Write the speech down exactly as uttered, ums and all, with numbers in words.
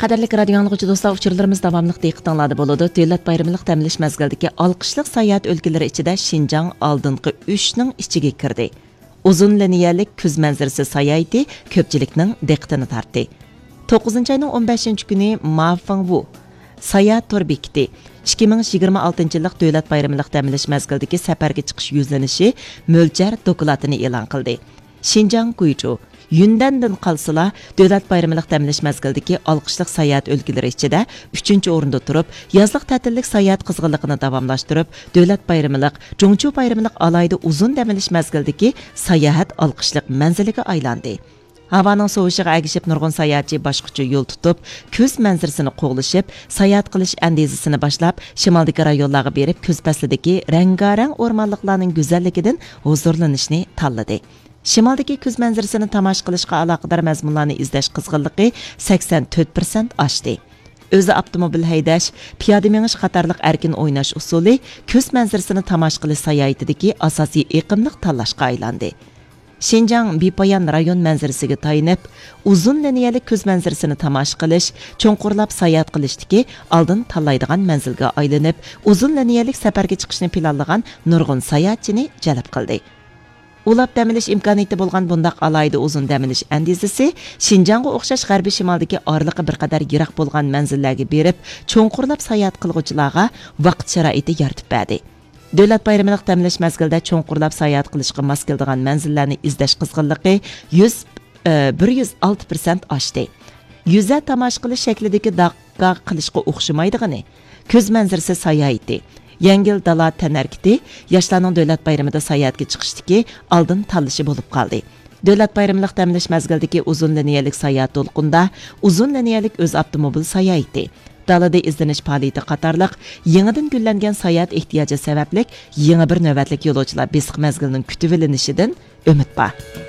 قەدىرلىك رادىيو ئاڭلىغۇچى دوستلار، ئۇچۇرلىرىمىز داۋاملىق دىققىتىڭلاردا بولىدۇ. دۆلەت بايرىملىق دەم ئېلىش مەزگىلىدىكى ئالقىشلىق ساياھەت ئۆلكىلىرى ئىچىدە شىنجاڭ ئالدىنقى ئۈچنىڭ ئىچىگە كىردى. ئۇزۇن لىنىيەلىك كۈز مەنزىرىسى ساياھىتى كۆپچىلىكنىڭ دىققىتىنى تارتتى. توققۇزىنچى ئاينىڭ ئون بەشىنچى كۈنى مافېڭۋۇ ساياھەت تور بېكىتى ئىككى مىڭ يىگىرمە ئالتىنچى يىللىق دۆلەت بايرىملىق دەم ئېلىش مەزگىلىدىكى سەپەرگە چىقىش يۈزلىنىشى مۆلچەر دوكلاتىنى ئېلان قىلدى. شىنجاڭ گۇيچۇ، يۈندەندىن قالسىلا، دۆلەت بايرىملىق دەم ئېلىش مەزگىلىدىكى ئالقىشلىق ساياھەت ئۆلكىلىرى ئىچىدە ئۈچىنچى ئورۇندا تۇرۇپ، يازلىق تەتىللىك ساياھەت قىزغىنلىقىنى داۋاملاشتۇرۇپ، دۆلەت بايرىملىق، جۇڭچۇ بايرىملىق ئالاھىدە ئۇزۇن دەم ئېلىش مەزگىلىدىكى ساياھەت ئالقىشلىق مەنزىلىگە ئايلاندى. ھاۋانىڭ سوۋۇشىغا ئەگىشىپ، نۇرغۇن ساياھەتچى باشقىچە يول تۇتۇپ، كۈز مەنزىرىسىنى قوغلىشىپ، ساياھەت قىلىش ئەندىزىسىنى باشلاپ، شىمالدىكى رايونلارغا بېرىپ، كۈز پەسلىدىكى رەڭگارەڭ ئورمانلىقلارنىڭ گۈزەللىكىدىن ھۇزۇرلىنىشنى تاللىدى. شىمالدىكى كۈز مەنزىرىسىنى تاماشا قىلىشقا ئالاقىدار مەزمۇنلارنى ئىزدەش قىزغىنلىقى سەكسەن تۆت پىرسەنت ئاشتى. ئۆزى ئاپتوموبىل ھەيدەش، پىيادە مېڭىش قاتارلىق ئەركىن ئويناش ئۇسۇلى كۈز مەنزىرىسىنى تاماشا قىلىش ساياھىتىدىكى ئاساسىي ئېقىملىق تاللاشقا ئايلاندى. شىنجاڭ بىپايان رايون مەنزىرىسىگە تايىنىپ، ئۇزۇن لىنىيەلىك كۈز مەنزىرىسىنى تاماشا قىلىش، چوڭقۇرلاپ ساياھەت قىلىشتىكى ئالدىن تاللايدىغان مەنزىلگە ئايلىنىپ، ئۇزۇن لىنىيەلىك سەپەرگە چىقىشنى پىلانلىغان نۇرغۇن ساياھەتچىنى جەلپ قىلدى. ئۇلاپ دەم ئېلىش ئىمكانىيىتى بولغان بۇنداق ئالاھىدە ئۇزۇن دەم ئېلىش ئەندىزىسى شىنجاڭغا ئوخشاش غەربىي شىمالدىكى ئارىلىقى بىر قەدەر يىراق بولغان مەنزىللەرگە بېرىپ، چوڭقۇرلاپ ساياھەت قىلغۇچىلارغا ۋاقىت شارائىتى يارىتىپ بەردى. دۆلەت بايرىملىق دەم ئېلىش مەزگىلىدە چوڭقۇرلاپ ساياھەت قىلىشقا ماس كېلىدىغان مەنزىللەرنى ئىزدەش قىزغىنلىقى يۈز، ئى، بىر يۈز ئالتە پىرسەنت ئاشتى. يۈزە تاماشا قىلىش شەكلىدىكى داققا قىلىشقا ئوخشىمايدىغىنى، كۈز مەنزىرىسى ساياھىتى، يەڭگىل دالا تەنھەرىكىتى ياشلارنىڭ دۆلەت بايرىمىدا ساياھەتكە چىقىشتىكى ئالدىن تاللىشى بولۇپ قالدى. دۆلەت بايرىملىق دەم ئېلىش مەزگىلىدىكى ئۇزۇن لىنىيەلىك ساياھەت دولقۇنىدا ئۇزۇن لىنىيەلىك ئۆز ئاپتوموبىل ساياھىتى، دالىدا ئىزدىنىش پائالىيىتى قاتارلىق يېڭىدىن گۈللەنگەن ساياھەت ئېھتىياجى سەۋەبلىك يېڭى بىر نۆۋەتلىك يولۇچىلار بېسىق مەزگىلىنىڭ كۈتۈۋېلىنىشىدىن ئۈمىد بار.